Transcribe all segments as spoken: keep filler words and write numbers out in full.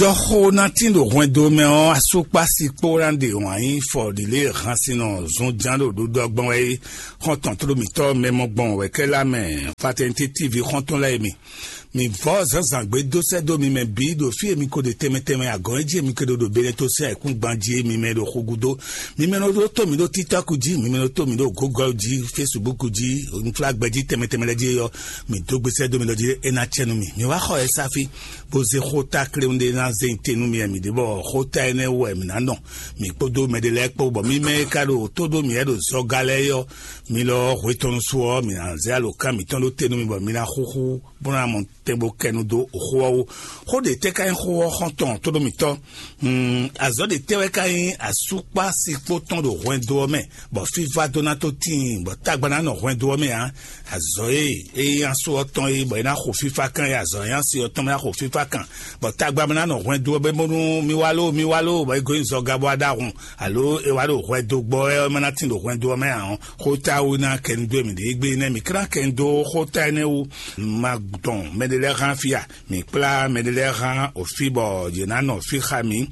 Ɖɔ xó ná tín ɖo hwɛndo mɛ ɔ́, asúkpási kpó ná ɖe wǎn yí fɔ ɖi lě e hansinɔ zunján ɖo ɖuɖɔ gbɔn wɛ é. Xɔ́ntɔn tló mǐtɔn mɛ mɔ gbɔn wɛ kɛ lá mɛ Fraternité T V xɔ́ntɔn lɛ́ɛ mi. Mi vɔ́ zǎnzǎn gbé dó sɛ́ dó mi mɛ bǐ ɖo fí e mi ko ɖe tɛnmɛ tɛnmɛ agɔ̌n e jí e mi ko ɖo ɖo Benɛto sín ayǐkúngban jí e mi mɛ ɖo xo gúdo. Mi mɛ nɔ ɖó tó mi ɖó TikTok jí, mi mɛ nɔ tó mi ɖó Google jí, Facebook jí, nflágbɛ jí tɛnmɛ tɛnmɛ lɛ́ɛ jí ɔ́, mi dó gbésɛ dó mi ɖɔ jí é ná cɛ nú mi. Mi wá xɔ ɛ sáfí, bó zé xó ta kléwún ɖé ná zé nyi te nú mi wɛ mi ɖe bɔ xó ta énɛ́ wú wɛ mi ná nɔ. Mi kpódó mɛɖé lɛ́ɛ kpó, bɔ mi mɛ e ka ɖo tó ɖó mi wɛ ɖo zɔga lɛ́ɛ é ɔ́, mi lɔ hwe tɔn nu su ɔ́, mi ná zé alǒkan mǐtɔn ɖó te nú mi bɔ mi ná xúxú bó ná mɔ tɛn bó kɛ nu dó xó ɔ́ wú. Xó ɖě tɛ́ ka nyí xó ɔ́ xɔ́ntɔn tóɖómítɔ́? Hmm, azɔ̌ ɖě tɛ́ wɛ ka nyí asúkpásikpó tɔn ɖo hwɛndo ɔ́ mɛ, bɔ fífá dó ná tó tíin, bɔ tagba ná nɔ hwɛndo ɔ́ mɛ ǎ? Azɔ̌ e é nyí asú ɔ́ tɔn é, bɔ é ná xo fífá kan é, azɔ̌ e nyí asi ɔ́ tɔn mɛ ná xo fífá kan, bɔ tagba mɛ ná nɔ hwɛndo ɔ́ mɛ bónú mi wá ló, mi wá ló, bɔ é gɔ́ nyi zɔga bó wá ɖó ahun, alo é wá ɖo hwɛndo gbɔ wɛ ɔ́, é má ná tín ɖo hwɛndo ɔ́ mɛ ǎ ɔ́, xó ta wú ná kɛ nu dó mì ɖě gbe nɛ́ mǐ klán kɛ nu dó xó ta énɛ́ wú. Ma dɔn mɛɖé lɛ́ɛ hán fí a? Mǐ kplá mɛɖé lɛ́ɛ hán òfí bɔ yě ná nɔ fí xá mǐ.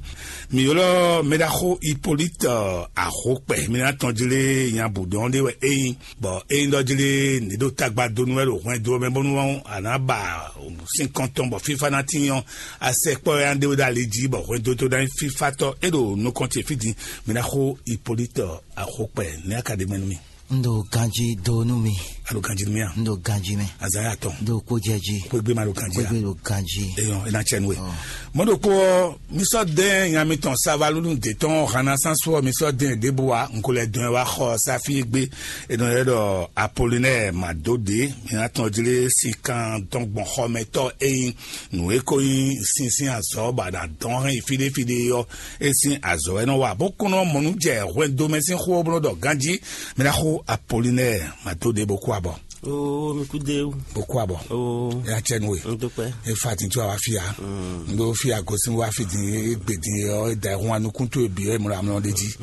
Mǐ ylɔ́ mɛɖaxó Hippolyte Axokpɛ, mí ná tɔn jlé nya bǔ dɔn ɖé wɛ é nyí, bɔ é nyí ɖɔ jlé ní ɖo tagba dó nú wɛ ɖo hwɛndo ɔ́ mɛ bónú a nǎ ba sín kɔn tɔn bɔ fífá ná tín ɔ́, a sɛ kpɔ́ wɛ a ɖe wɛ ɖo ali jí bɔ hwɛndo tó ná nyí fífátɔ́ é ɖo nukɔn ce fí din. Mɛɖaxó Hippolyte Axokpɛ, ní a ka ɖe mɛ nú mì. Un ɖo ganjí dó nú mi. A ɖo ganjí nú mì a? Un ɖo ganjí mɛ. Azaya tɔn. Un ɖo kpó jɛ jí. Kpégbé ma ɖo ganjí a? Kpégbé ɖo ganjí. Eyɔn, é ná cɛ nú we. Ɔ. Mɔ̌ ɖokpó ɔ́, mi sɔ́ dɛn nya mitɔn savalúnu dě tɔn hana sánsú ɔ́, mi sɔ́ dɛn ɖěbǔ wa, un ko lɛ dɔn ɛ wá xɔ sáfí e gbé, è nɔ ylɔ́ ɖɔ Apolinɛ́ɛ Madóɖě, mi ná tɔn jlé sikan dɔn gbɔn xɔmɛtɔ́ e nyí nǔ e ko nyí sínsín azɔ̌ bɔ a nǎ dɔn hɛn yi fíɖéfíɖé ɔ́, é sín azɔ̌ wɛ nɔ wa, bó kún nɔ mɔ nǔ jɛ hwɛndo mɛ sín xó ɔ́ bó nɔ ɖɔ ganjí. Mi ná xo Apolinɛ́ɛ Madóɖě bó kú abɔ. Oo, mi kú dé o. Bó kú abɔ. Oo. Ɛ acɛ nu we. N dúpẹ́. E fa tin tó a wá fi ya. N ɖó fi ya gosín wá fi din e gbe din e ɔ e da ehun anukún tó e bǐ ɔ e mlɔ amlɔ ɖe jí.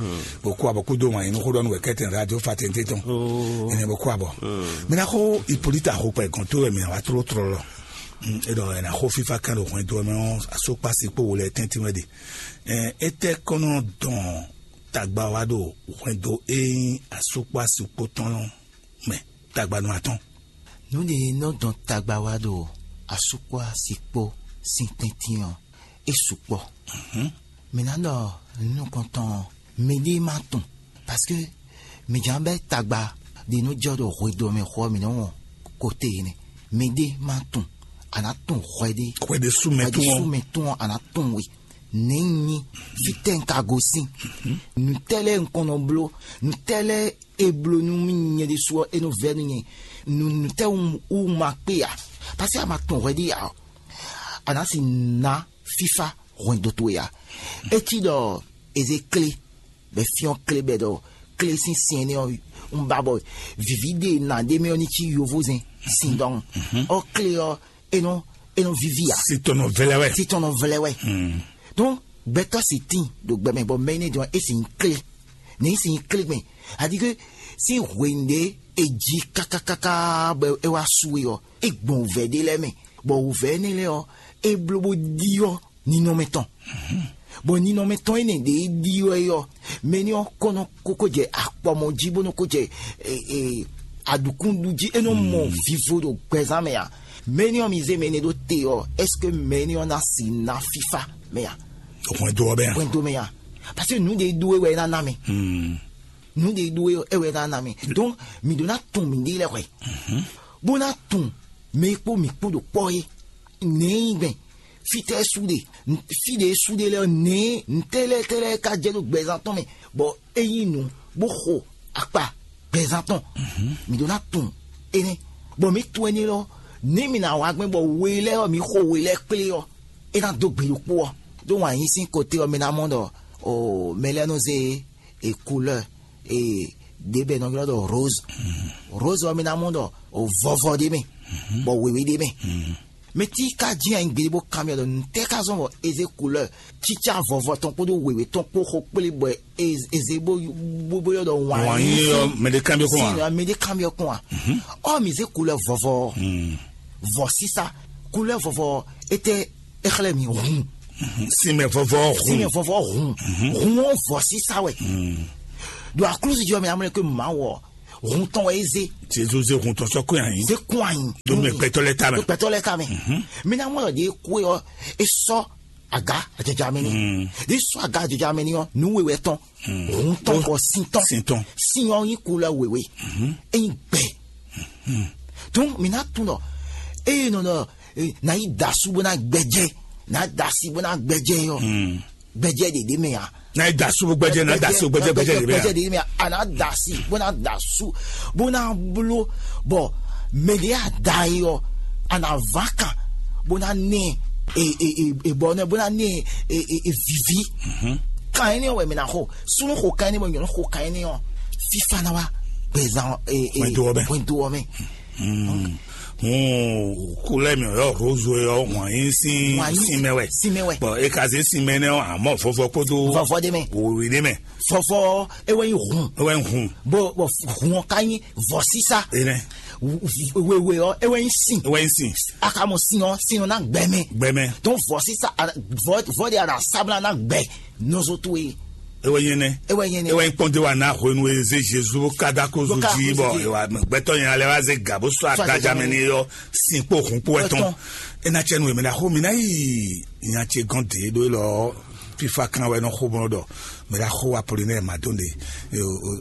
Bó kú abɔ kúdó wǎn yín nú xó ɖɔ nú wɛ kɛ́tɛn radio fa tɛn tɛn tɔn. Oo. Ɛnɛ bó kú abɔ. Mi ná xó Hippolyte Axokpɛ gɔn tó wɛ mi ná wá tló tlɔlɔ. E ɖɔ ɛ ná xó fífá kan ɖo hwɛndo ɔ́ mɛ ɔ́, asókpási kpó wo lɛ tɛ́ntin wɛ ɖe. Ɛ étɛ́ kɔn nɔ dɔn tagba wá ɖo hwɛndo e nyí asókpási kpó tɔn mɛ tagba nɔ atɔn. Nǔ ɖě nɔ dɔn tagba wá ɖo asúkpɔ́ asi kpó sín tɛ́ntin ɔ́, é sukpɔ́. Mǐ ná ɖɔ nukɔntɔn ɔ́, mɛɖée má tunwun, parce que mǐ jǎn bɛ́ tagba ɖě nɔ jɔ ɖo hwedó mɛ xó ɔ́, mǐ nɔ́ wɔn kote énɛ́. Mɛɖée má tunwun, a nǎ tunwun hwɛɖé. Hwɛɖé sú mɛ Hwɛɖé tún sú ɔ́. Mɛ tún ɔ́, a nǎ tunwun we. Nɛ̌ un nyí? Fítɛ́ un ka gosín? Nǔtɛ́ lɛ́ɛ un kɔn nɔ bló? Nǔtɛ́ lɛ́ɛ e bló nú mì nyɛ ɖésú ɔ́, é nɔ vɛ́ nú nyɛ. Nǔ nǔtɛ́ wú ma kpé ǎ? Paseke a ma tunwun hwɛɖé ǎ ɔ́, a nǎ si ná fífá hwɛndo towe ǎ. É cí ɖɔ è zě klé, bɔ é fyɔ́n klé bɔ è ɖɔ klé sín sin énɛ́ ɔ́, un ba bɔ vǐví ɖe nǎ ɖ'é mɛ ɔ́ ní cí yovózɛn sin dɔn. Ɔ́ klé ɔ́, é nɔ é nɔ víví ǎ. Si tɔn nɔ vlɛ́ wɛ. Si tɔn nɔ vlɛ́ wɛ. Donc gbɛtɔ́ si tín ɖo gbɛ mɛ bɔ mɛ énɛ́ jɔn é si nyí klé. Nɛ̌ é si nyí klé gbɛn? Aɖíké sín hwenu ɖé è ji kákákáká bɔ é wá su é ɔ́, é gbɔn wǔvɛ́ ɖé lɛ́ɛ mɛ, bɔ wǔvɛ́ énɛ́ lɛ́ɛ ɔ́, é bló bó ɖyɔ́ ninɔmɛ tɔn. Bɔ ninɔmɛ tɔn énɛ́ ɖě é ɖyɔ́ é ɔ́, mɛ énɛ́ ɔ́ kɔ́ nɔ kókó jɛ akpɔmɔ jí bó nɔ kó jɛ aɖǔkúɖu jí, é nɔ mɔ vivo ɖo gbɛzán mɛ ǎ. Mɛ énɛ́ ɔ́ mi zé mɛ énɛ́ ɖó te ɔ́, est-ce que mɛ énɛ́ ɔ́ ná si ná fífá mɛ ǎ? Hwɛndo ɔ́ bɛ a? Hwɛndo mɛ ǎ. Parce que nǔ ɖe ɖó é wɛ é ná ná mɛ. Nǔ ɖe ɖó é wɛ é ná ná mɛ. Donc mǐ ɖó ná tun mǐɖée lɛ́ɛ hwɛ, bó ná tun mɛ e kpó mǐ kpó ɖo kpɔ́ é. Nɛ̌ é nyí gbɛn? Fítɛ́ sú ɖe? Fí ɖě sú ɖe lɛ́ɛ ɔ́, nɛ̌ ntɛ́ lɛ́ɛ tɛ́ lɛ́ɛ ka jɛ ɖo gbɛzán tɔn mɛ, bɔ é nyí nǔ bó xo akpa gbɛzán tɔn? Mǐ ɖó ná tunwun énɛ́, bɔ mǐ tunwun énɛ́ lɔ, nɛ̌ mǐ ná wa gbɛn bɔ we lɛ́ɛ ɔ́, mǐ xo we lɛ́ɛ kplé ɔ́, é ná dó gbe ɖokpó ɔ́. Ɖó wǎn yí sín kote ɔ́, mi ná mɔ ɖɔ o mɛ lɛ́ɛ nɔ zé e couleur e ɖě bɛ nɔ ylɔ́ ɖɔ rose. Rose ɔ́, mi ná mɔ ɖɔ o vɔvɔ ɖé mɛ, bɔ wěwé ɖé mɛ. Mɛ tí ka jí anyi gbeɖé bó kanbyɔ́ ɖɔ nǔtɛ́ ka zɔ́n bɔ é zé couleur cícá vɔvɔ tɔn kpódó wěwé tɔn kpó xo kplé bɔ é zé bó bó bó ylɔ́ ɖɔ wǎn Wǎn yí yí ɔ́, mɛ ɖé kanbyɔ́ kɔn a? Mɛ ɖé kanbyɔ́ kɔn a? Ɔ mi zé couleur vɔvɔ ɔ́, vɔ sísá, couleur vɔvɔ ɔ́, étɛ́ é xlɛ́ mi hun? Sinmɛ vɔvɔ. Sinmɛ hun. Vɔvɔ hun. Hun ɔ́ vɔ sísá wɛ. Ɖo aklúzu jí ɔ́ mɛ amlɛ ko mawɔ hun tɔn wɛ é zé. Jezu zé hun tɔn sɔ́ kó anyi. Zé kó anyi. Ɖo mɛ gbɛtɔ́ lɛ́ɛ ta mɛ. Ɖo gbɛtɔ́ lɛ́ɛ ta mɛ. Mi ná mɔ ɖɔ ɖě kú ɔ́ é sɔ́ aga ajɔjɔ amɛ ní. Ɖě sɔ́ aga ajɔjɔ amɛ ní ɔ́ nǔ we wɛ tɔn. Hun tɔn kɔ sin tɔn. Sin tɔn. Sin ɔ́ nyí kulɛ wěwé. É nyí gbɛ. Tún mi ná tunɔ eye nɔ nɔ na yi da asú bó ná gbɛjɛ, na da asi bó ná gbɛjɛ yɔ. Gbɛjɛ ɖeɖe mɛ ya. Na yi da asú bó gbɛjɛ, na da asú bó gbɛjɛ, gbɛjɛ ɖeɖe mɛ ya. Gbɛjɛ ɖeɖe mɛ ya. A na da asi bó ná da asú bó ná bló bɔ mɛɖe a da yi ɔ a na va kan bó ná nɛ e e e e bɔ nɛ bó ná nɛ e e e vivi. Kan ɛnɛ wɛ mi na xo sunu xo kan ɛnɛ bɔ nyɔnu xo kan ɛnɛ ɔ fifa na wa gbɛzan e e Wɛndo ɔ mɛ. Wɛndo ɔ mɛ. Hun kulɛ mi yɔ rozo yɔ wọn yin sin Wọn yin sin mɛ wɛ. Sin mɛ wɛ. Bɔn e ka se sin mɛ nɛ ɔ amɔ fɔfɔ kpodo Vɔvɔ de mɛ. Wowi de mɛ. Fɔfɔ ewɛ yin hun. Ewɛ hun. Bo bo hun ɔ ka yin vɔ sisa. Enɛ. Wewe ɔ ewɛ yin sin. Ewɛ yin sin. Akamɔ sin ɔ sin ɔ na gbɛmɛ. Gbɛmɛ. Donc vɔ sisa vɔ vɔ de ara sabla na gbɛ nɔzɔ to ye. Ewɛ yin nɛ. Ewɛ yin nɛ. Ewɛ yin kpɔn de wa na hwenu e ze Jesu kada ko zu Boka ji ko bɔ zu ji. Ewa gbɛtɔ yin alɛ wa ze ga bo sɔ Sɔ aga aga jamɛ jamɛ ni yɔ sin kpo hun kpo etɔn. Etɔn. Ena cɛ nu emɛ na xo mi na yi nya ce gɔn de ɖo lɔ fifa kan wɛ nɔ xo bɔ ɖɔ mɛ da xo wa poli nɛ ma don de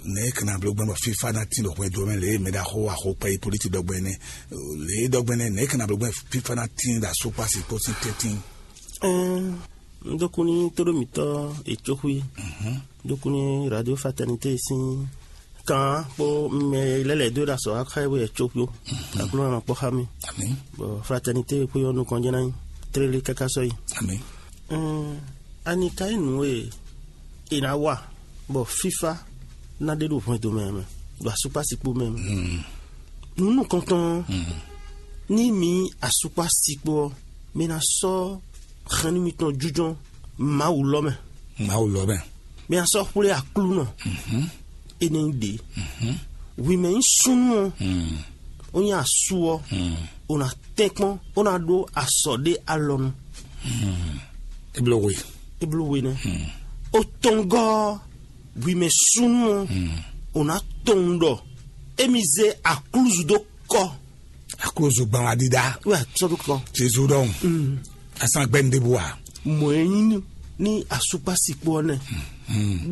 ne kana blo gbɛn bɔ fifa na tin ɖo hwɛ do mɛ le mɛ da xo wa xo pɛ yi politi dɔgbɛ ne le dɔgbɛ ne ne kana blo gbɛn fifa na tin da so kpasi kpo sin tɛtin. Ɛɛ, n dó kú ní tóɖómítɔ́ Etsoxwi, n dó kú ní Radio Fraternité sín kan kpó mɛ lɛ́ lɛ̌ dó ɖo azɔ̌ xá ɛ bó yɛ Etsoxwi ó. Aklúnɔ nɔ kpɔ́ xá mì. Àmín. Bɔ Fraternité kpó yɔ nukɔn jɛ́n ná nyí tlélé káká sɔ́yi. Àmín. Ɛɛ, ani ka nyí nǔ e è nǎ wa bɔ fífá ná ɖe ɖo hwɛndo mɛ mɛ, ɖo asukpásikpó mɛ mɛ? Nǔ nukɔntɔn ɔ́, ní mi nyí asukpásikpó ɔ́, mi ná sɔ́ hɛn nú mitɔn jínjɔ́n Mawu lɔ mɛ. Mawu lɔ mɛ. Mi ná sɔ́ xwlé Aklúnɔ énɛ́ ɖě. Hwi mɛ nyí súnnu ɔ́, ó nyí asú ɔ́, ó ná tɛ́nkpɔ́n, ó ná ɖó asɔ̌ ɖé alɔnu. É bló we. É bló we nɛ́. Ó tɔ́n gɔ́ ɔ́, hwi mɛ súnnu ɔ́, ó ná tunwun ɖɔ émí zé aklúzu dó kɔ. Aklúzu gban wa dídá. Wɛ sɔ́ dó kɔ. Jezu ɖɔhun. Asan gbɛ́ nu ɖěbǔ ǎ. Mɔ̌ e nyí ní asukpásikpó ɔ́ nɛ́.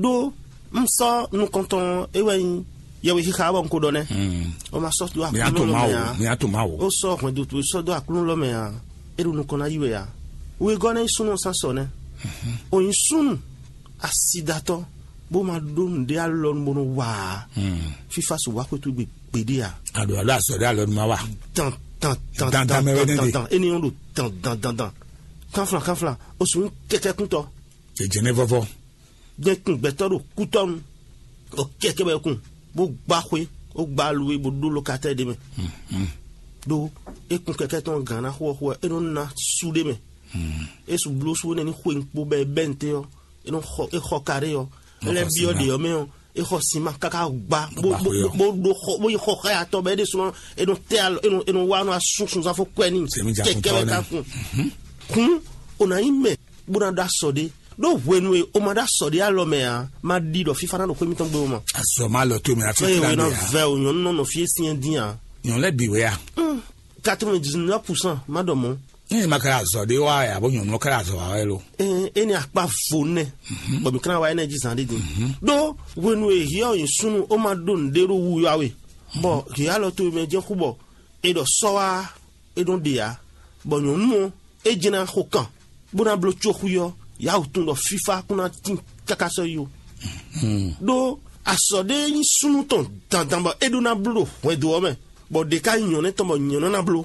Ɖó un sɔ́ nukɔntɔn e wɛ nyí yɛwe xixa bɔ un ko ɖɔ nɛ́. O ma sɔ́ dó Mǐ á to aklúnɔ lɔ Mawu. mɛ ǎ. Mǐ á to Mawu. O sɔ́ hwɛndo towe sɔ́ dó aklúnɔ lɔ mɛ ǎ. É ɖo nukɔn ná yí wɛ ǎ. Wegɔ́ ná nyí súnnu ɔ́ sín asɔ nɛ́. O nyí súnnu asidatɔ́ bó ma ɖó nǔɖé alɔnu bó nɔ wa ǎ. Fífá sixú wá xwé towe gbe gbeɖé ǎ. Aɖo alo azɔ ɖé alɔnu ma wa. Dan dan dan Dan, dan, dan mɛ wɛ dan nɛ dan ɖe. Dan énɛ́ ɔ́ ɖo dan dan dan dan. Kánflan kánflan, o sixú kɛkɛ́kúntɔ́. È jɛ nɛ́ vɔ́vɔ́. Jɛ kun gbɛtɔ́ ɖo kútɔ́nu. O kɛkɛ bɛ kun bó gbá xwé, ó gbá aluwe bó ɖó lokatɛ́ ɖé mɛ. Ɖó é kun kɛkɛ tɔn gǎn ná xó ɔ́ xó ɔ́, é nɔ ná sú ɖé mɛ. É su bló sú énɛ́ ní xwe kpo bɔ é bɛ́ nǔté ɔ́, é nɔ xɔ é xɔ kaɖé ɔ́, é lɛ́ byɔ́ ɖě ɔ́ mɛ ɔ́, é xɔ sinma káká gbá bó Gbá bó xwé ɔ́. bó ɖó xɔ bó yi xɔ xá ya tɔn bɔ é ɖésúnɔ é nɔ tɛ alo é nɔ é nɔ wá nɔ asún sunzán fó kwɛ n'i Sɛmi ja kɛkɛ wɛ kuntɔ ká nɛ. kun. Kun o ná nyí mɛ bó ná ɖó asɔ ɖé ɖó hwenu e o ma ɖó asɔ ɖé alɔ mɛ ǎ, ma ɖi ɖɔ fífá ná ɖo xwé mitɔn gbe o ma. Azɔ ma lɔ to mɛ afi Eye kila wena de ya. Vɛ o nyɔnu nɔ nɔ fie siɛ dín a. Nyɔnu lɛ bi wɛ ya. Quatre-vingt-dix-neuf pour cent ma ɖɔ mɔ. Ní ma kɛra azɔ ɖé wá ya bó nyɔnu kɛra azɔ wá wɛ lo. Ɛɛ eni akpa vo nɛ bɔ mi kana wa ɛnɛ ji zan ɖe din. Ɖó hwenu e hiɔ yin sunu o ma ɖo nɖe ɖo wu yɔ awe bɔ hiɔ alɔ to mɛ jɛ xú bɔ e ɖɔ sɔ wá e ɖo ɖe ya bɔ nyɔnu ɔ e jɛ na xo kan bó ná bló tso xú yɔ yawu tun ɖɔ fífá kún ná tín káká sɔ yi o. Ɖó asɔ ɖé nyí súnnu tɔn dandan bɔ é ɖó ná bló ɖo hwɛndo ɔ́ mɛ, bɔ ɖě ká nyí nyɔ̌nɛ́ tɔn bɔ nyɔ̌nɛ́ ná bló.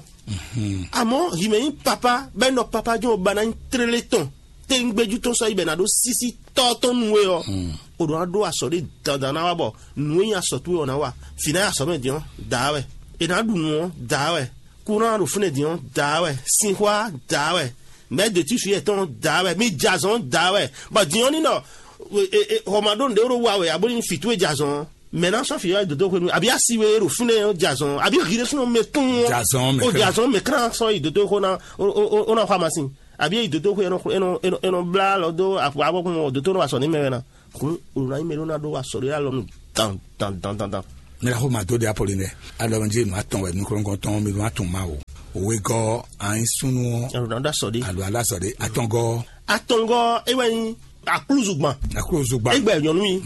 Amɔ̌ himɛ nyí papá bɔ é nɔ papá jɔ́n ba ná nyí tlélé tɔn téŋgbéjú tɔn sɔ́ yi bɔ è nǎ ɖó sísí tɔ́ tɔn nú we ɔ́, o ɖǒ ná ɖó asɔ ɖé dandan ná wa bɔ nǔ e nyí asɔ towe ɔ́ ná wa. Fǐ ná nyí asɔ mɛ din ɔ́, dǎ wɛ. È nǎ ɖu nǔ ɔ́, dǎ wɛ. Kúnɔ ɖo fínɛ́ din ɔ́, dǎ wɛ. Sinxwá, dǎ wɛ. Mɛ̌ de tí fǐ yɛtɔn dǎ wɛ, mí jɛ azɔn dǎ wɛ. Bɔ din ɔ́ ní ɖɔ hɔmaɖó nǔɖé ɖó wa wɛ abo ní fǐ towe jɛ azɔn ɔ́, mɛ̌ ná sɔ́ fǐ ɔ́ yi dǒdó hwenu, abǐ asi we ɖo fínɛ́ ɔ́ jɛ azɔn ɔ́, abǐ hǐ ɖésúnɔ mɛ tún ɔ́ Jɛ azɔn mɛ ó jɛ kɛ́. Azɔn mɛ kán sɔ́ yi dǒdó xó ná ó ná xɔ amasin. Àbí é yi dǒtóxwé, é nɔ é nɔ é nɔ é nɔ blá alɔ dó afɔ abɔkun ɔ́, dǒtó nɔ wa sɔ n'i mɛ wɛ ná. Hǔn, un ná nyí mɛ ɖó ná ɖó wa sɔ ɖé alɔ nú dan dan dan dan dan. Mira xo ma dó de Apolinɛ. Alɔ jí ma tɔn wɛ nukɔnkɔn tɔn mi ma tɔn ma o. Òwe gɔ ayin súnú ɔ́. Alɔ ná ɖó asɔ ɖé. Alɔ alá sɔ ɖé. Atɔngɔ. Atɔngɔ é wɛ nyí aklúzugban. Aklúzugban. Égbɛ nyɔnu yi.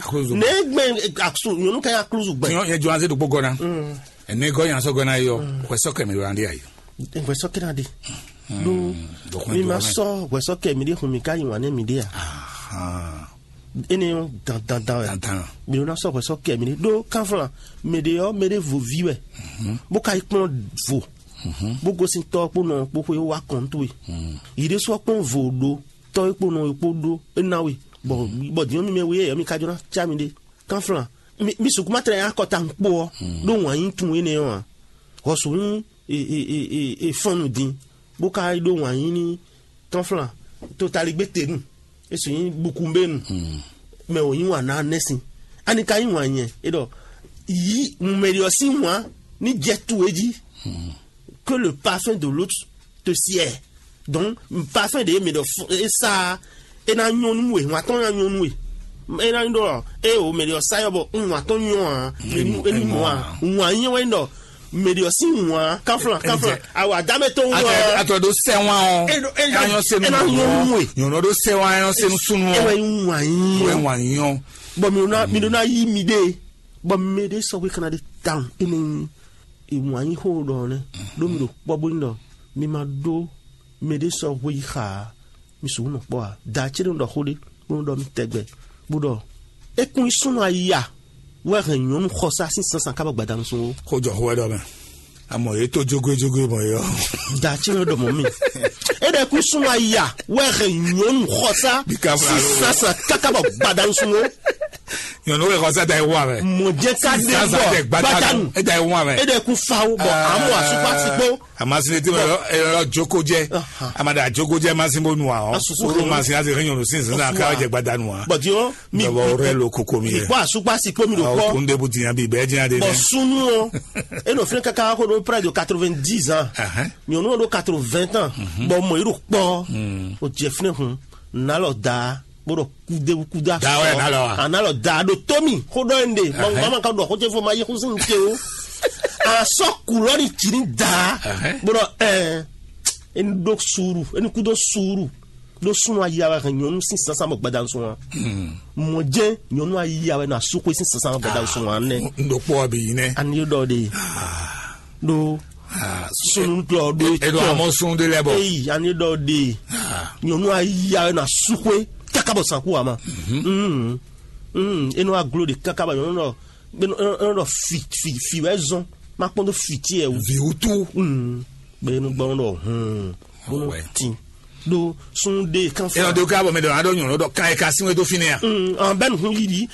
Aklúzugban. Ne gbɛ aksu nyɔnu ka nyí aklúzugban. Tiɲɔ yɛ jɔ anze ɖokpó gɔna. Ɛnɛ gɔ yan sɔ gɔna yɔ. Xɔsɔ kɛmɛ ɖo andi ayi. Ŋgbɛ sɔ kɛnɛ ɖe. Ɖó mi ma sɔ hwɛsɔ kɛ mi ɖe hun mi ka yi wan nɛ mi ɖe a. Ene yɔ dandan dan wɛ. Dandan. Mi ɖo na sɔ hwɛsɔ kɛ mi ɖe ɖó kanflan. Mi ɖe yɔ mi ɖe vo vi wɛ. Bó ka yi kplɔn vo. Bó gosin tɔ kpó nɔ kpó xwe wa kɔn towe. Yi ɖe sɔ kpɔn vo ɖó tɔ e kpó nɔ e kpó ɖó e na we. Bɔn bɔ diɲɔ mi mɛ we yɛ mi ka jɔ na ca mi ɖe. Kanflan, mi mi sukuma tlɛ ya kɔta nkpo ɔ ɖó wǎn yí tun énɛ́ ɔ́ ǎ. Hɔsu nyí e e e e e fɔnnu din, bó ka yi ɖó wǎn yí ní kanflan totaligbé tenu, e su nyí bukumbénu, mɛ wǒ nyí wǎn ná nɛ́sin. Ani ka nyí wǎn nyɛ? E ɖɔ yí mumɛɖiɔ sín wǎn ní jɛ tu é jí, que le parfum de l'autre te sied. Donc parfum ɖě mɛ ɖɔ é sa é ná nyɔ́ nú we, wǎn tɔn ná nyɔ́ nú we. É ná nyí ɖɔ é o mɛ ɖɔ sa yɔ bɔ un wǎn tɔn nyɔ́ ǎ, é ní mɔ ǎ. Wǎn nyɛ wɛ ɖɔ mɛ ɖɔ sín wǎn káflán káflán awɔ adámɛ tó wú ɔ. Atɔ ɖó sɛwan ɔ. Anyɔ senu nyɔnɔ ɖó sɛwan anyɔ senu sunu ɔ. Ewɛ wǎn nyɛ wɛ wǎn nyɔ. Bɔn mi ɖó ná mi ɖó ná yí mi ɖe bɔn mi ɖe sɔgbe kana ɖe tawun ene. Ìwọ̀n anyí xó ɖɔ nɛ́ ɖó mi ɖo kpɔ́ bó ní ɖɔ mi ma ɖó mɛɖé sɔ́ hwe yi xa ǎ. Mi sixú nɔ kpɔ́ ǎ. Da ce nɔ ɖɔ xó ɖé bó nɔ ɖɔ mi tɛgbɛ bó ɖɔ é kún yi súnnu ayi a wɛ hɛn nyɔ̌nu xɔsá sín sánsan kábɔ gbadanu sún ó. Xó jɔ xó wɛ ɖɔ mɛ. Amɔ yě tó jógójógó mɔ yɔ. Da ce nɔ ɖɔ mɔ mi. É ɖɔ é kún súnnu ayi a wɛ hɛn nyɔ̌nu xɔsá sín sánsan kákábɔ gbadanu sún ó. Nyɔnu wɛ xɔsa da yi wa mɛ. Mɔjɛ ka de bɔ gbadanu. E da yi wa mɛ. E da yi kun fa wo bɔ amu asupa sikpo. Amasine ti mɛ yɔrɔ joko jɛ. Amada joko jɛ masin bo nu wa ɔ. Asusu olu masin ase ke nyɔnu sin sin na ka jɛ gbadanu wa. Bɔti o mi bɔ rɛ lo koko mi yɛ. Bɔ asupa sikpo mi do kɔ. Kun de bu diyan bi bɛɛ diyan de. Bɔ sunu o. E nɔ fɛn kaka ko do près de quatre-vingt-dix ans. Nyɔnu o do quatre-vingts ans. Bɔ mɔ yi do kpɔ. O jɛ fɛn kun. Nalɔ da. Bó ɖɔ kúdéwú kúdé asɔ. Da wɛ nalɔ wa. Analɔ da ɖo tómi xó ɖɔ ŋɖe. Mama ka ɖɔ xó ce fɔ ma yi xó sín ŋke o. Asɔ kulɔ ni tsi ni da. Bó ɖɔ ɛɛ eni ɖó suuru eni kú dó suuru ɖó súnnu ayi awa hɛn nyɔnu sín sánsan bɔ gbadanu sún wa. Mɔ jɛ nyɔnu ayi awa na suxwe sín sánsan bɔ gbadanu sún wa nɛ. N ɖo kpɔ bi yi nɛ. Ani ɖɔ de. Ɖó sunnu tɔ ɖó etɔ. Eɖo amɔ sun de lɛ bɔ. Eyi ani ɖɔ de. Nyɔnu ayi awe na suxwe kaka bɔ sanku ama. Enɔ aglo de kaka bɔ nyɔnu ɖɔ enɔ ɖɔ fi fi fi wɛ zɔn ma kpɔn do fi ti yɛ o. Vi wutu. Bɛ enɔ gbɔn ɖɔ hun bɔnɔ tin ɖó sun de kan fɔ. Enɔ de ka bɔ mɛ dɔ adɔ nyɔnu dɔ kan yɛ ka sin wɛ do fi nɛ ya. An bɛ nu hun yi di.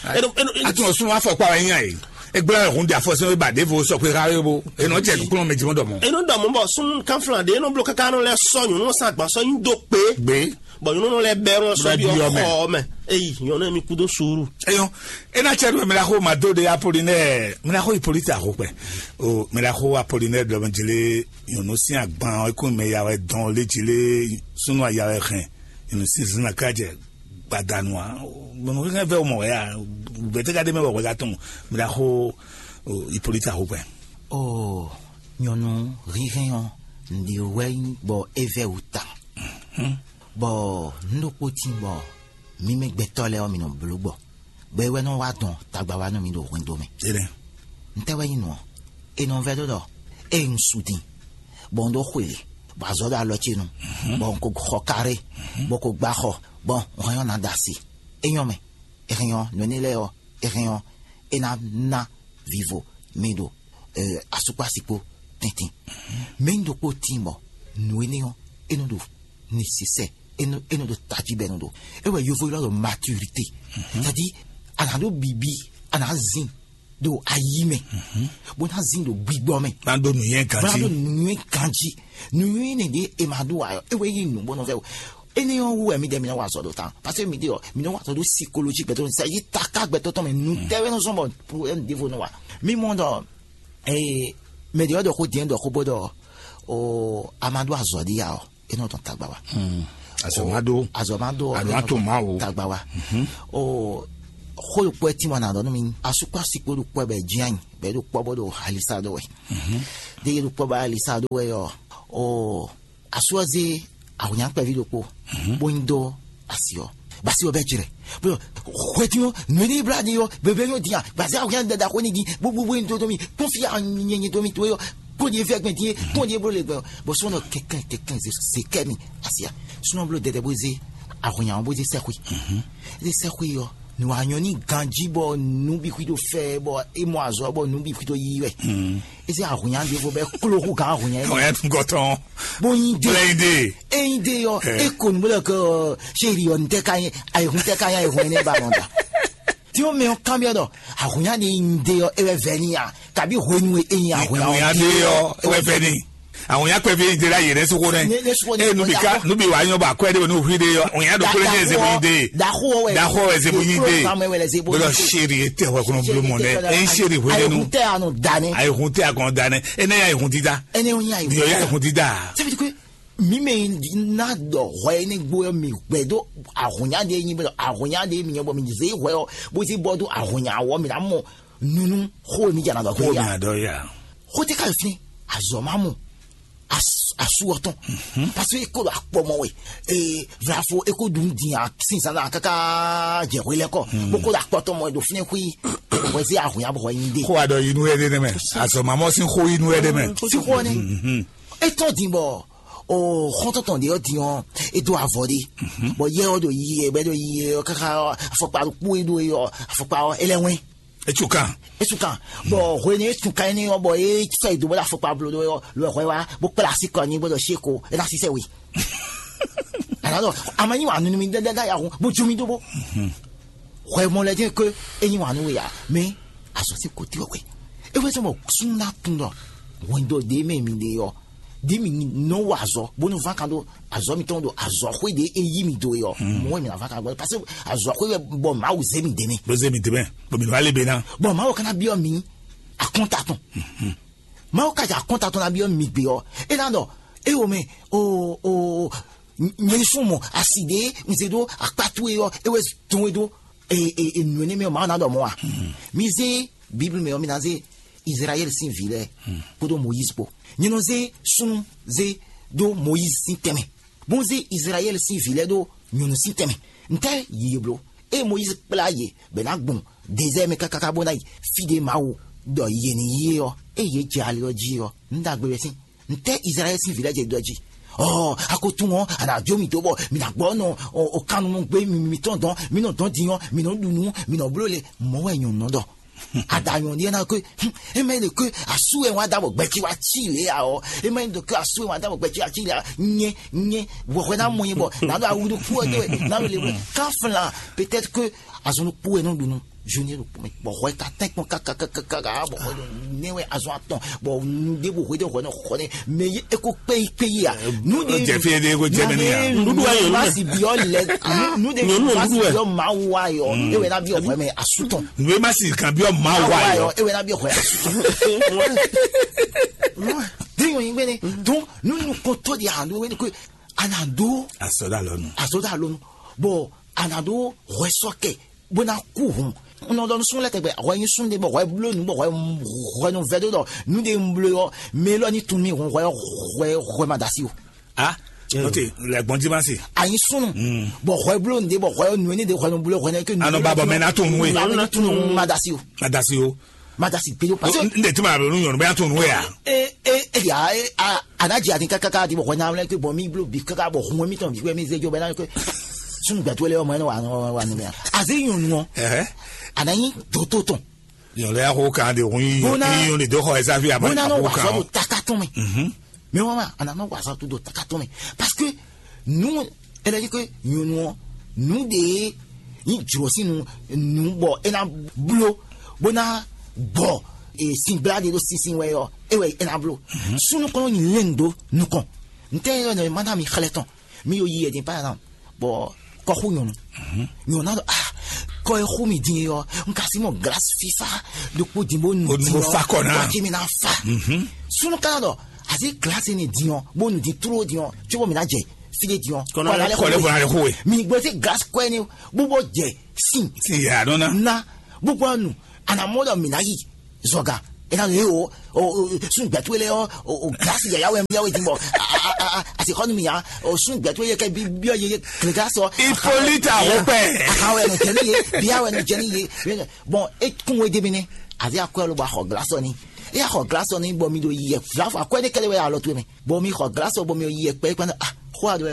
Atún sun afɔ kpa wɛ nya ye. Egblɔ hun di afɔ sin wɛ ba devo sɔ kpe ha wɛ bo. Enɔ jɛ nukun mɛ jimɔ dɔ mɔ. Enɔ dɔ mɔ bɔ sun kan flan de enɔ blo kaka nɔ lɛ sɔ nyɔnu san agban sɔ nyi do kpe. Gbe. Bɔn nyɔnu lɛ bɛ nɔ sɔ bi ɔkɔ mɛ. Eyi nyɔnu mi kudo suru. Eyɔn ena cɛ do mɛ la ko ma do de Apolinɛ mɛ la ko Hippolyte axo kpɛ. O mɛ la ko Apolinɛ dɔ mɛ jele nyɔnu sin agban ɔ ekun mɛ ya wɛ dɔn le jele sunu aya wɛ hɛn nyɔnu sin zina ka jɛ gbadanu a. Bɔn hɛn vɛ o mɔ wɛ ya bɛtɛ ka de mɛ wɛ wɛ ka tɔn mɛ la ko Hippolyte axo kpɛ. O nyɔnu hihɛn ɔ ndi wɛ bɔ e vɛ wu ta. Bɔ un ɖokpó tín bɔ mí mɛ gbɛtɔ́ lɛ́ɛ ɔ́, mi nɔ bló gbɔ, bɔ é wɛ nɔ wá dɔn tagba wá nú mi ɖo hwendo mɛ. Ntɛ́ wɛ nyí nǔ ɔ́? È nɔ vɛ́ ɖó ɖɔ ée un su din, bɔ un ɖó xweli, bɔ azɔ̌ ɖo alɔ ce nu, bɔ un ko xɔ karé, bɔ ko gbá xɔ, bɔ un hɛn ɔ́ ná ɖo asi. É nyɔ́ mɛ, è hɛn ɔ́, nǔ énɛ́ lɛ́ɛ ɔ́, è hɛn ɔ́, é ná ná vivo mi ɖo asukpási kpó tɛ́ntin. Mɛ nyí ɖokpó tíin bɔ nǔ énɛ́ ɔ́, é nɔ ɖo nécessaire, é nɔ é nɔ ɖo tají bɔ é nɔ ɖo. É wɛ yovo ylɔ́ ɖɔ maturité. C'est-à-dire, a nǎ ɖó bǐbí, a nǎ zin ɖo ayi mɛ, bó ná zin ɖo gbigbɔ mɛ. Ná ɖó nǔnywɛ́ bó ná ganjí. Ɖó nǔnywɛ́ ganjí. Nǔnywɛ́ nɛ ɖě è ma ɖó ǎ, é wɛ nyí nǔ bó nɔ vɛ́ o. Énɛ́ ɔ́ wú wɛ mi ɖe mi nɔ wa azɔ̌ ɖo ta, parce que mi ɖe ɔ, mi nɔ wa azɔ̌ ɖo psychologie gbɛtɔ́, c'est-à-dire taká gbɛtɔ́ tɔn mɛ nǔ tɛ́ wɛ nɔ zɔn bɔ problème ɖěvo nɔ wa. Mi mɔ ɖɔ ee mɛ ɖě ɔ́ ɖɔ xó diɛn ɖɔ xó bó ɖɔ o a ma ɖó azɔ̌ ɖi ya ɔ, é nɔ dɔn tagba wá. Azɔ̌ má ɖó. Azɔ̌ má ɖó. Azɔ̌ má tó má o. Tagba wá. O xó ɖokpó ɛ tín wá nǎ ɖɔ nú mi. Asúkpási kpó ɖokpó ɛ bɛ jínjɔ́n ayǐ, bɛ ɖo kpɔ́ bó ɖo alisa ɖó wɛ. Ɖé yé ɖo kpɔ́ bó alisa ɖó wɛ ɔ́, o asú ɔ́ zé awǐnnya kpɛví ɖokpó, bó nyi dó asi ɔ́, basi ɔ́ bɛ jlɛ. Bó hwɛtí ɔ́, nǔ e ní blá ɖi ɔ́, bebé nyɔ din a, basi awǐnnya dada xó ní din, bó bó bó nyi dó dó mi, kpɔ́n fí a nyɛ nyɛ dó mi tó ɔ́, kpɔ́n ɖi fɛ́ gbɛn din, kpɔ́n ɖi bó le gbɛn ɔ́, bó sɔ́ nɔ kɛnkɛn kɛnkɛn zé kɛ mi asi a, súnɔ bló dɛdɛ bó zé awǐnnya ɔ́ bó zé sɛ́xwé. Zé sɛ́xwé ɔ́, nǔ wa nyɔ ní ganjí bɔ nǔ bǐ xwí ɖo fɛ bɔ é mɔ azɔ̌ bɔ nǔ bǐ xwí ɖo yí wɛ. É zé ahùnyá ɖěvo bɛ kló hú gǎn ahùnyá é. Àwọn yẹn tún gọ tán. Bó yin dé. Bó yin dé. É yin dé yɔ. É kò nú bó lɛ kɛ ɔ séri ɔ ntɛ ka yin ayihun tɛ ka yin ayihun ɛnɛ ba nɔ da. Tí ó mɛ ɔ kán biɔ dɔ ahùnyá ni yin dé yɔ é wɛ vɛ ni a kabi hwenu e yin ahùnyá Àwọn yẹn dé yọ. Ẹ wẹ fẹ ni. Àwọn yẹn pẹ fi de la yẹrẹ soko nẹ. E nubi ka nubi wa nyɔ ba kwɛ de bɛ nu hui de yɔ. Àwọn yẹn do kple ní ẹsẹ bɔ yin de. Daxo wɛ. Daxo wɛ ẹsẹ bɔ yin de. Bolo seri etɛ wɛ kɔnɔ bolo mɔ nɛ. E seri hwe de nu. Ayihun tɛ anu danɛ. Ayihun tɛ akɔnɔ danɛ. Ene ya ayihun dida. Ene o yin ayihun. Yɔ ya ayihun dida. Sɛbi ko mi mɛ ná dɔ hɔ ene gbo yɔ mi gbɛ do ahùnyá de yin bɛ ahùnyá de mi nyɔ bɔ mi ze hɔ yɔ bó si bɔ do ahùnyá wɔ mi na mɔ nunu xó mi jana dɔ Xó mi gbé ya. Adɔ ya. Xó tɛ ka fi azɔ ma mɔ asu ɔtɔn. Parce que eko do akpɔ mɔ we ee vlafo eko dun din a sinsan na kaka jɛ hwe lɛ kɔ boko do akpɔtɔ mɔ do fine hui wɛsi ahun ya bɔ yin de. Xó adɔ yinu yɛ de nɛmɛ. Azɔ mamɔ sin xó yinu yɛ de mɛ. Si xɔ ne etɔn din bɔ o xɔntɔntɔn de yɔ din ɔ edo avɔ de bɔ yɛ ɔ do yi yɛ bɛ do yi yɛ ɔ kaka afɔkpa kpu edo yɔ afɔkpa ɔ elɛ wɛn. Etsu kan. Etsu kan. Bɔ hwenu etsu kan énɛ́ ɔ́ bɔ é sɔ yi do bó ɖo afɔkpa blo ɖó ɔ́ lo hwɛ wá bó kplá así kɔ nyi bó ɖɔ sí ko é ná sísɛ we. Àná ɖɔ àmọ́ nyi wà nunu mi dɛdɛ dá yahun bó jó mi dó bó. Hwɛ mɔ lɛ dín ké é nyi wà nú we yá mɛ azɔ sí ko tí wɛ é wɛ sɔ bɔ sún ná tún ɖɔ hwɛndo ɖé mɛ mi ɖe ɔ ɖi mi nɔ wɔ azɔ bónú ván kan ɖo azɔ mitɔn ɖo azɔ xwé ɖe e yí mi do e ɔ mɔ wɛ mi na ván kan gbɔ parce que azɔ xwé wɛ bɔ mawu zé mi dɛmɛ Bó zé mi dɛmɛ. Bó mi va lé be ná. Bɔn mawu kana biɔ mi akɔnta tɔn mawu kaja akɔnta tɔn na biɔ mi gbe ɔ e na ɖɔ e wo mɛ o o nyɛ sun mɔ asi ɖe nze ɖo akpatu e ɔ e wɛ dɔn e ɖo e e e nu ne mɛ mawu na ɖɔ mɔ wa mi zé bible mɛ ɔ mi na zé Israɛl sín vǐ lɛ́ɛ kpódó Moyízi kpó. Nyɛ nɔ zé súnnu zé ɖó Moyízi sín tɛnmɛ, bó zé Izlayɛ́li sín vǐ lɛ́ɛ ɖó nyɔ̌nu sín tɛnmɛ. Ntɛ́ yě bló? Ée Moyízi kplá yě bɔ è nǎ gbɔn dezɛ́ɛ mɛ káká bó ná yi fí ɖé Mawu ɖɔ yě ní yi é ɔ́, ée yě jɛ ali ɔ́ jí ɔ́, nǔ ɖagbe wɛ sín. Ntɛ́ Izlayɛ́li sín vǐ lɛ́ɛ jɛ ɖɔ jí? Ɔɔ, a ko tunwun ɔ́, a nǎ jó mì dó bɔ mì nǎ gbɔ nɔ ɔ, ɔ, kannumɔ gbé mi mitɔn dɔn, mì nɔ dɔn din ɔ́, mì nɔ ɖu nǔ, mì nɔ bló le. Mɔ̌ wɛ nyɔ̌nu nɔ ɖɔ. Adanyɔ̌ ɖíe ná kó, é má ɖe kó asú ɛ wá dá bɔ gbɛtí wá cí lě ǎ ɔ́, é má ɖe kó asú ɛ wá dá bɔ gbɛtí wá cí lě ǎ. Nyɛ nyɛ wɛhwɛ ná mɔ nyɛ bɔ nǎ ɖo awu ɖokpó ɔ́ dó wɛ nǎ ɖo le wɛ ká flan peut-être que azɔn ɖokpó wɛ nɔ ɖu nú zoni ɖokpó mɛ bɔ hwɛ ka tɛn kpɔn kakakakaka bɔ hwɛ nɛ wɛ azɔn atɔn bɔ nu ɖé bo hwɛ ɖé hwɛ nɔ xɔ nɛ mɛ yi eko kpé yi kpé yi a nu ɖé Jɛ fi ɖé ko jɛ mɛ ni a. Nuɖuɖu ayɔ nu ma si biɔ lɛ nu ɖé ma si biɔ mawu ayɔ ewɛ na biɔ hwɛ mɛ asutɔn. Nue ma si kan biɔ mawu ayɔ. Ewɛ na biɔ hwɛ asutɔn. Bí yɔn yin gbɛnɛ dɔn nu nukɔntɔ di a do wɛni ko a na do Asɔda lɔnu. Asɔda lɔnu bɔn a na do hwɛ sɔkɛ bó ná kú hun. N nɔ ɖɔ nusúnú lɛ́ɛ tɛgbɛ hwɛ nyí súnnu ɖé bɔ hwɛ bló nǔ bɔ hwɛ hwɛ nɔ vɛ dó ɖɔ nǔ ɖé un bló ɔ́ mɛ élɔ́ ní tun mì hun hwɛ hwɛ hwɛ ma da sí o. Ah, note, lɛ gbɔn jí ma se. Anyi súnnu bɔ hwɛ bló nǔ ɖé bɔ hwɛ nǔ éní ɖé hwɛ nɔ bló hwɛ nɛ ké nǔ. Anɔ ba bɔ mɛ na tun nú e. Ba mɛ ní tun nú ma da sí o. Ma da sí o. Ma da sí gbé o parce que N de tuma bɛ nu nyɔnu bɛ tun nú e a. E e e ya e a ana dzi ati kaka di bɔ hwɛ na wlɛ ke bɔ mi blo bi kaka bɔ hun mi tɔn bi wɛ mi ze jo bɛ na ke sunu gbɛtu lɛ ɔmɔ ɛnɛ wa wa wa ni mɛ aze nyɔnu ɔ Ɛhɛ. Ana nyi doto tɔn Nyɔnu ya ko kan de hun yi Bona- yi yɔn de do xɔ ɛsa fi a ma Bona a no ko wa kan sɔ o. Do taka tɔn mɛ Mhm. Mais wa ma ana no wa sɔ to do taka tɔn mɛ parce que nu ɛlɛ yi ke nyɔnu ɔ nu de yi juro si nu nu bɔ ena blo bona gbɔ e sin bla de do sinsin wɛ yɔ ewɛ ena blo sunu kɔnɔ nyi lɛn do nukɔn ntɛ yɔ ne mana mi xlɛ tɔn mi yo yi yɛ din par exemple bɔ kɔxu nyɔnu nyɔnu na dɔ ah kɔ e xu mi din yɔ n ka si mɔ glace fifa ɖokpo din bo nu Bo- din bo yɔ fa kɔ na. Wa ki mi na fa sunu kana dɔ Asi glasi ni din ɔ, bó nu din tló din ɔ, tso bɔ mi ná jɛ sílé din ɔ. Kɔnɔ lɛ kɔ lɛ bɔ na lɛ xo we. Mi gbɔ sí glasi kɔɛ ni bó bɔ jɛ sin. Sin yɛ adɔn na. Na bó bɔ nu anamɔ dɔ mi ná yi zɔga. E na lè o o o sun gbɛtú lɛ ɔ o o glasi yɛ yawe yawe din bɔ a a a a asi xɔ nu mi ya o sun gbɛtú yɛ kɛ bi bi ɔ yɛ yɛ kle glasi ɔ. Hippolyte Ahopɛ. Akawe no jɛ ni ye, biawe no jɛ ni ye. Bɔn e kún we de mi nɛ. Avi akɔɛ ló ba xɔ glasi ɔ ni. E ya xɔ glasi ɔ ni bɔ mi do yi yɛ vlafɔ akɔɛ ne kɛlɛ wɛ alɔ to mɛ. Bɔ mi xɔ glasi ɔ bɔ mi yi yɛ kpɛ kpɛ ah xɔ a do